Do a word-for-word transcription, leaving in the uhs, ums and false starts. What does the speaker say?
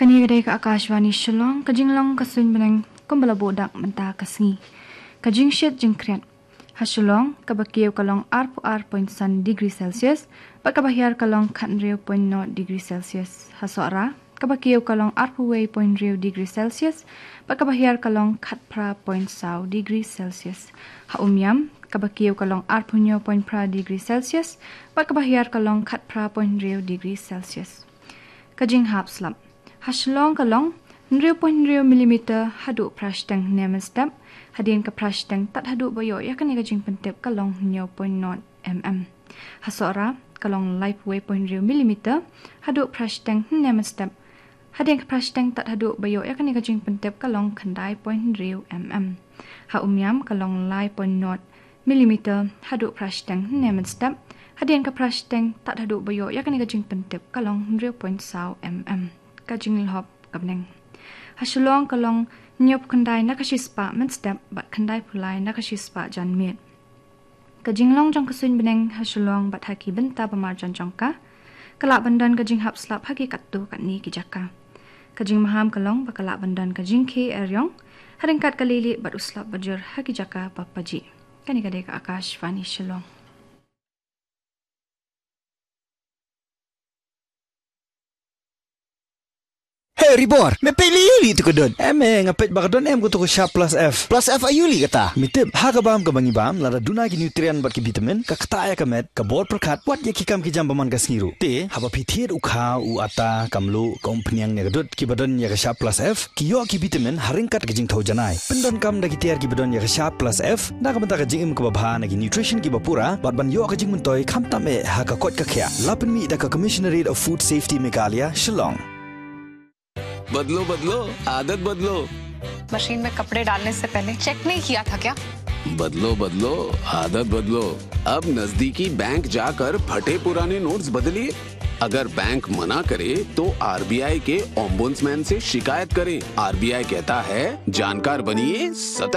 Kane ka dei ka Akashvani Shillong, ka jinglong ka suiñ bneng kumba la buh dak mynta ka sngi. Ka jingshit jingkhriat. Ha Shillong, kaba kiew ka long arphew ar point san degree Celsius, bad kaba hiar ka long khathynriew point nod degree Celsius. Ha Sohra, kaba kiew ka long arphew wei point hynriew degree Celsius, bad kaba hiar ka long khatphra point saw degree Celsius. Ha Umiam, kaba kiew ka long arphew hynñiew point phra degree Celsius, bad kaba hiar ka long khatphra point hynriew degree Celsius. Ka jinghap slap. Ha Shillong ka long hynriew point hynriew millimeter haduh phra shiteng hynne mynstep, hadien ka phra shiteng tad haduh ba ïoh ïa kane ka jingpyntip ka long hynñiew point nod mm. Ha Sohra ka long laiphew wei point hynriew millimeter haduh phra shiteng hynne mynstep, hadien ka phra shiteng tad haduh ba ïoh ïa kane ka jingpyntip ka long khyndai point hynriew mm. Ha Umiam ka long lai point nod millimeter haduh phra shiteng hynne mynstep, hadien ka phra shiteng tad haduh ba ïoh ïa kane ka jingpyntip ka long hynriew point saw mm. Ka jinglhop ka bneng. Ha Shillong ka long hynñiewphew khyndai na ka shispah mynstep bad khyndaiphew lai na ka shispah janmiet. Ka jinglong jong ka suiñ bneng ha Shillong bad ha ki bynta ba marjan jong ka, ka lah ban don ka jinghap slap ha ki katto katne ki jaka. Ka jingmaham ka long ba ka lah ban don ka jingkhie eriong, ha ryngkat ka lieh lieh bad u slap ba jur ha ki jaka ba pajih. Kane ka dei ka Akashvani Shillong. Hey Ribor, me peit lei aïu lei tu ka dud? Em eh, nga peit ba ka don em kato ka Sharp Plus F. Plus F aïu lei kata? Me tip, ha ka bam kaba ngi bam, lada duna ki nutrient bad ki vitamin, ka ktah ïa ka met, ka bor pyrkhat, wat ïa ki kam ki jam ba man ka sngi ruh. Te, haba phi thied u khaw, u atta, ka mluh, ka umphniang ne ka dud, kiba don ïa ka Sharp Plus F, ki ïoh ki vitamin, ha ryngkat ka jingthaw janai. Pyndonkam da ki tiar kiba don ïa ka Sharp Plus F, na ka bynta ka jingim kaba bha na ki nutrition kiba pura, bad ban ïoh ka jingmyntoi khamtam eh ha ka koit ka khiah. La pynmih da ka Commissionerate of Food Safety Meghalaya, Shillong. बदलो, बदलो, आदत बदलो। मशीन में कपड़े डालने से पहले चेक नहीं किया था क्या? बदलो, बदलो, आदत बदलो। अब नजदीकी बैंक जाकर फटे पुराने नोट्स बदलिए। अगर बैंक मना करे, तो आरबीआई के ओम्बुड्समैन से शिकायत करें। आरबीआई कहता है, जानकार बनिए, सतर्क